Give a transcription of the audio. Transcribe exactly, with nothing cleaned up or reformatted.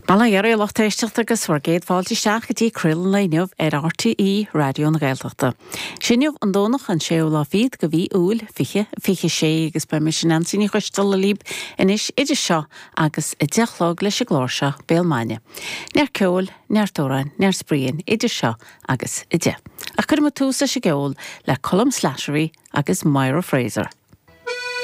Bail ó Dhia oraibh a lucht éisteachta agus bhur gcéad fáilte isteach go dtí Craoladh an lae inniu ar RTÉ Raidió na Gaeltachta. Is inniu an Domhnach an séú lá fichead de mhí Iúil fiche fiche sé agus beidh mise Neansaí Ní Choisteala libh anois idir seo agus a deich a chlog leis an gclár seo Béal Maidine. Neart ceoil, neart amhrán, neart spraoi idir seo agus a deich. Ach cuirfidh muid tús leis an gceol le Colm Slattery agus Myra Fraser.